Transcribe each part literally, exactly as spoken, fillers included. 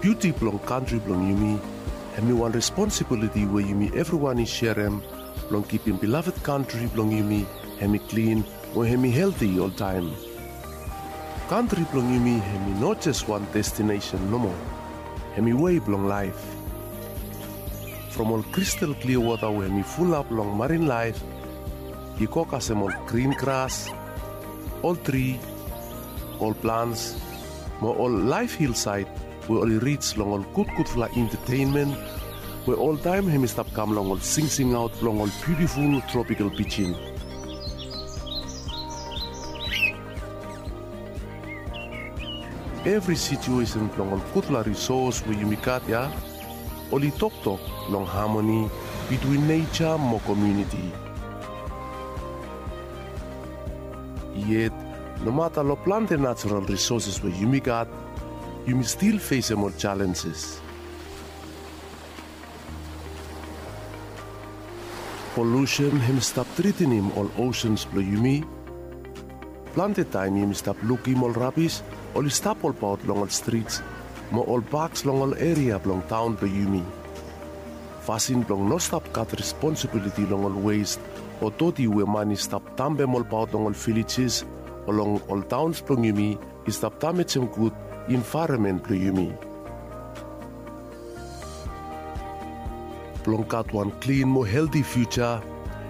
Duti blong kantri blong yumi hemi wan responsibiliti we yumi evriwan i serem blong kipim beloved kantri blong yumi hemi klin mo hemi helti oltaem. Kantri blong yumi hemi no jes wan destinesen nomo, hemi wei blong laef. From ol kristal klia wota we hemi fulap long marin laef i go kasem ol grin gras, ol tri, ol plans, mo ol laef hilsaed we oli rij long ol gudgudfala entetenmen we oltaem hemi stap kam long ol singsingaot blong ol biutiful tropikal pijin. Evri situesen blong ol gudfala risos we yumi gat ya oli toktok long hamoni bitwin neja mo komuniti. Yet nomata long plante najaral risoses we yumi gat, yumi stil fesem ol jalenjes. Polusen hemi stap tritinim ol osens blong yumi. Plante taem yumi stap lukim ol rabis oli stap olbaot long ol strits mo ol paks long ol eria blong taon blong yumi. Fasin blong no stap gat responsibiliti long ol wes o doti we man i stap dampem olbaot long ol vilejes o long ol taons blong yumi i stap damejem gud envaeronmen blong yumi. Blong gat wan klin mo helti fiuja,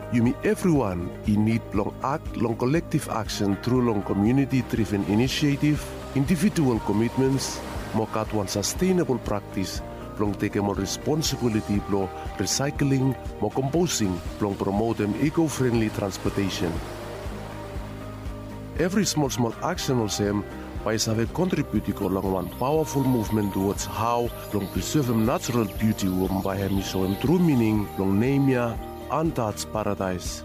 yumi evriwan i nid blong akt long kolektiv aksen tru long komuniti driven inisietif, indivijual komitmens, mo gat wan sastenabol praktis blong tekem ol responsibiliti blong risaekling mo komposing blong promotem iko frenli transpotesen. Evri smolsmol aksen olsem bae i save kontribiut i go long wan pawaful muvmen tuwods hao blong prisevem najaral biuti we bae hemi soem tru mining blong nem ya Untouched Paradise.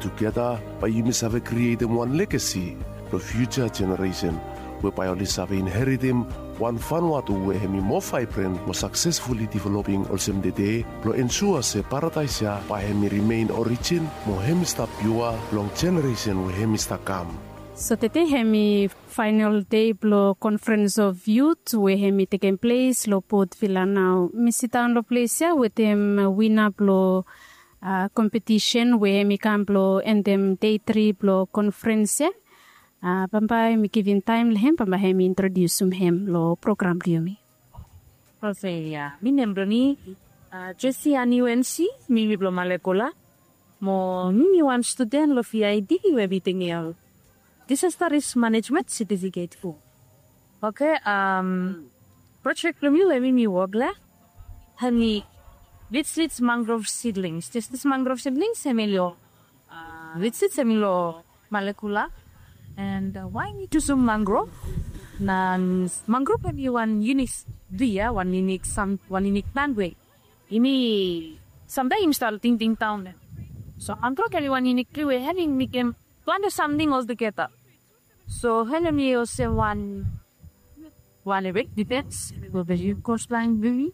Tugeta bae yumi save krietem wan legasi blong fiuja jeneresen we bae oli save inheritem wan Vanuatu we hemi moa vaebren mo saksesfuli developing olsem tede blong ensua se paradaes ya bae hemi rimen orijin mo hemi stap piua long jeneresen we hemi stap kam. So tede hemi faenol dei blong Conference of Youth we hemi tekem ples long Port Vila nao. Mi sidaon long ples ya wetem wina blong kompetisen we hemi kam blong endem dei tri blong konferens ya. Bambae mi givim taem long hem bambae hemi introdiusim hem long program blong yumi. Oke ya, mi nem blong mi Jesi Ani Wensi, mi mi blong Malekula. Mo mi mi wan studen long V I D we mi tekem disaster risk manejmen setifiket tu. Oke, projek blong mi we mi mi wok long hem hemi Vitsits mangrov sidlings. Disdis mangrov sidlings hemi long Vitsits hemi long Malekula. And wae mi jusum mangrov? Na mangrov hemi wan yunik tria, wan yunik sam wan yunik plan we yumi samtaem yumi stap tingting daon ya. So mangrov hemi wan yunik tria we hemi mekem plante samting oltugeta. So hemi olsem wan wan efek difens blong the kostlaen blong yumi,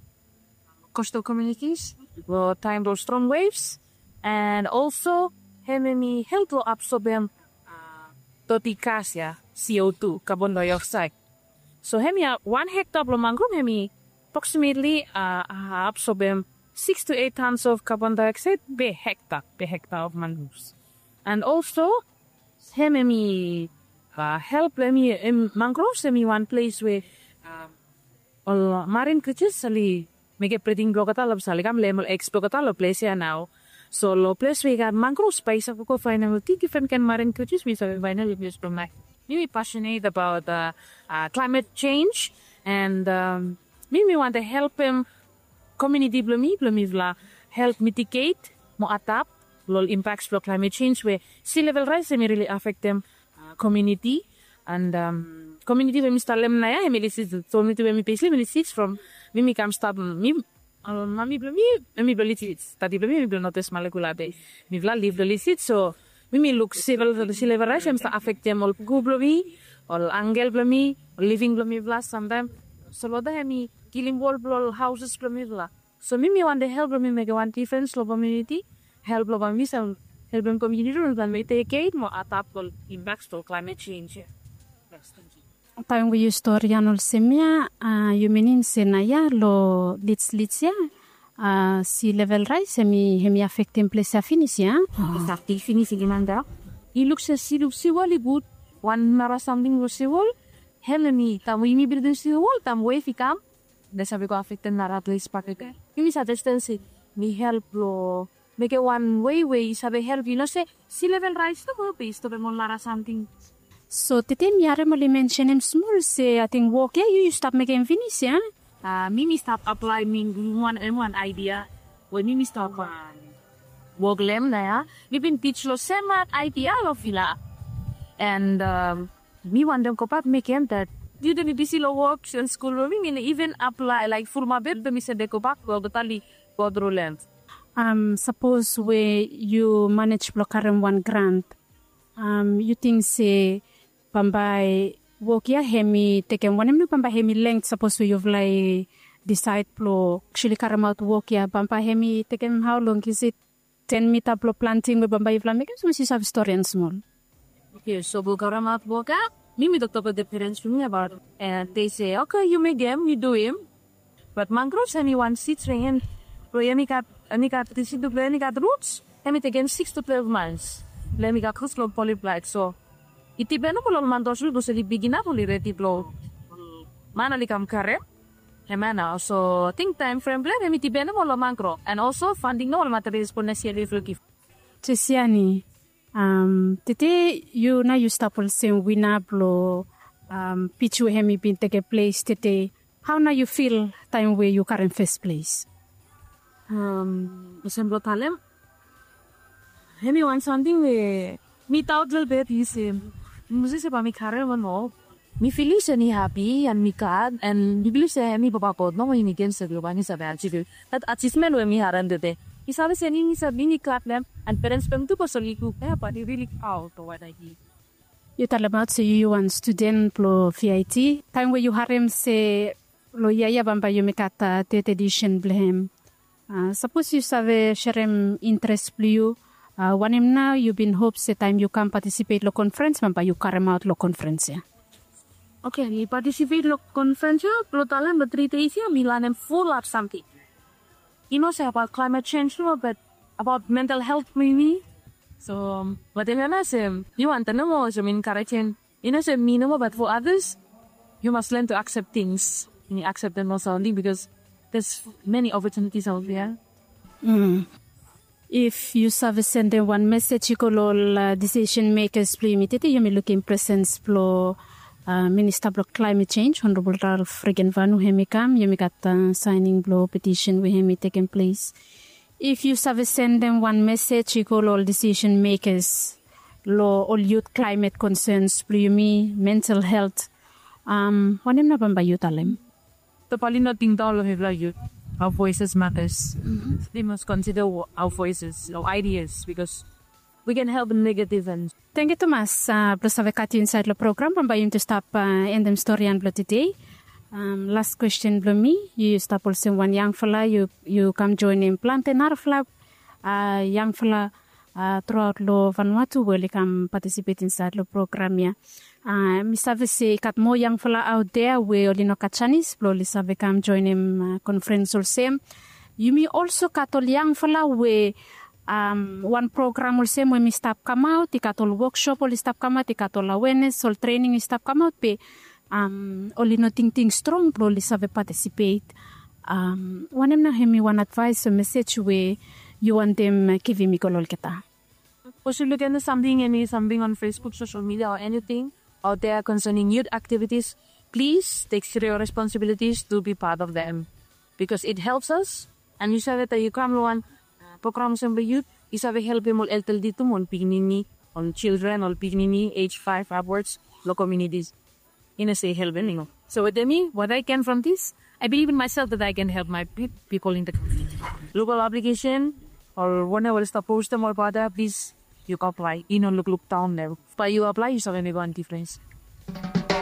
kostal komunitis long taem blong strong wevs. And olso hemi help long absobem doti gas ya, CO two, kabon daeoksaed. So hemi wan hekta blong mangrov hemi aproksimetli absobem siks tu eit tans of kabon daeoksaed per hekta, per hekta of mangrovs. And olso hemi help long hemi mangrovs hemi wan ples we ol marin krijas oli mekem briding blong olgeta long ples ya, oli kam leem ol eks blong olgeta long ples ya nao. So long ples we i gat mangrovs bae i save go faenem ol tri difren kaen marin krijas we i save faenem long ples blong laef. Mi mi pasionet abaot klaemet jenj and mi mi wantem helpem komuniti blong mi blong mifala help mitiget mo adap long ol impaks blong klaemet jenj we si level raes hemi rili afektem komuniti. And komuniti we mi stap lem naoia hemi Lisits. So komuniti we mi ples long hemi Lisits from mi mi kam stap mi mami blong mi hemi blong Lisits, dadi blong mi hemi blong Northwest Malekula be mifala liv long Lisits. So mi mi luk si level raes hemi stap afektem ol puku blong mi, ol angkel blong mi, ol living blong mifala samtaem. So loda hemi kilim wol blong ol haoses blong mifala. So mi mi wantem help blong mi mekem wan difrens long komuniti, help blong mi save helpem komuniti blong mifala mitiget mo adap long impaks blong klaemet jenj ya. Taem we yu storian olsem ya, yu minim se naoia lo Leeds, Leeds ya, si level rais hemi afektem ples ya finis ya? Exactly, finis i giman daon. I luk se si, luk si wol i gud. Wan nara samting lo si wol, hemia mi taem we yumi bildim si wol, taem wef i kam, hemi save go afektem nara ples bakegen. Yumi save stan se mi help lo mekem wan wei we i save help, yu no se si level rais nomo be i stopem ol nara samting. So tede mi harem oli mensenem smol se ating wok ya yu yu stap mekem finis ya? A mi mi stap aplaem mi wan em wan aidia we mi mi stap wok long em naoia. Mi bin tij long sem aidia long vila. And mi wantem gobak mekem dat. Yu de mi bisi long wok and skul we mi mi no even aplae laek fulumap yet be mi save gobak long olgeta oli go tru long em. Sapos we yu manej blong karem wan grant, yu ting se bambae wok ya hemi tekem wanem nao bambae hemi length sapos we yufala i disaed blong aksuali karemaot wok ya, bambae hemi tekem hao long? Is it ten mita blong planting we bambae yufala mekem sapos yu save storian smol? Oke, so blong karemaot wok ya, mi mi toktok long the parents blong mi abaot, and they say, oke, yu mekem, yu duim. Bat mangrove hemi wan seed we hem, we hemi gat, hemi gat, the seed we hemi gat roots, hemi tekem six to twelve months blong hemi gat roots blong poly plant. So i dipen nomo long ol man tasol, bikos oli big enough, oli redi blong man oli kam karem. Hemia nao, so ating taem frem blong hem hemi dipen nomo long mangrove, and also funding nomo long materials blong next year oli givim. Jesiani, tede yu nao yu stap olsem wina blong pij we hemi bin tekem ples tede. Hao nao yu fil taem we yu karem fes ples? Olsem blong talem, hemi wan samting we mi daot lelebet, yu se, mi no save se bae mi karem o no. Mi filim se mi hapi and mi glad, and mi bilif se hemi Papa God nomo hemi givim se blong bae mi save ajivim dat ajivmen we mi harem tede. Mi save se mi, mi save, mi glad long hem, and perens blong hem tu bikos oli luk ya, bae oli rili praod long wanem i. Yu talemaot se yu yu wan studen blong V I T. Taem we yu harem se long yia ya bambae yumi gat tete edisen blong hem, sapos yu save serem interes blong yu, wanem nao yu bin hop se taem yu kam patisipet long konfrens bambae yu karemaot long konfrens ya? Oke, mi patisipet long konfrens ya, blong talem long tri des ya mi lanem fulap samting. I no se abaot klaemet jenj nomo, bat abaot mental helt blong yumi. So watem ya nao se mi wantem nomo olsem enkarejem, i no se mi nomo bat fo adas, yu mas len tu aksep tings. Yu akseptem ol samting bikos there's many opportunities out there. If yu save sendem wan mesej i go long ol disisen mekas blong yumi tede, yumi lukim presens blong Minista blong Klaemet Jenj, Honorabol Ralph Regenvanu, hemi kam, yumi gat saening blong petisen we hemi tekem ples. If yu save sendem wan mesej i go long ol disisen mekas long ol yut klaemet konsens blong yumi, mental helt, wanem nao bambae yu talem? Topali no tingdaon long mifala yut. Our voices matters. They must consider our voices, our ideas, because we can help in negative and. Tangkiu tumas blong save gat yu insaed long program. Bambae yumi tu stap endem storian blong tede. Las kwesten blong mi, yu stap olsem wan yangfala, yu kam joenem plante narafala yangfala truaot long Vanuatu we oli kam patisipet insaed long program ya. Mi save se i gat moa yangfala aot dea we oli no gat janis blong oli save kam joenem konfrens olsem. Yumi olso gat ol yangfala we wan program olsem we mi stap kamaot, i gat ol woksop oli stap kamaot, i gat ol awenes, ol trening i stap kamaot, be oli no tingting strong blong oli save patisipet. Wanem nao hemi wan advaes o mesej we yu wantem givim i go long olgeta? Sapos yu luk eni samting, eni samting on Facebook, social media, or anything out there concerning youth activities, please take serious responsibilities to be part of them, because it helps us. And yu save taem yu kam long wan program olsem blong youth, yu save helpem ol elderly tu, ol pikinini, ol children, ol pikinini age five upwards long communities. I no se help anymore. So wetem mi, what I can from this, I believe in myself that I can help my pe- people in the community. Look ol application, ol wanem oli stap postem ol bata, please, yu go aplae. I no lukluk daon long hem. Bae yu aplae, yu save mekem wan difrens.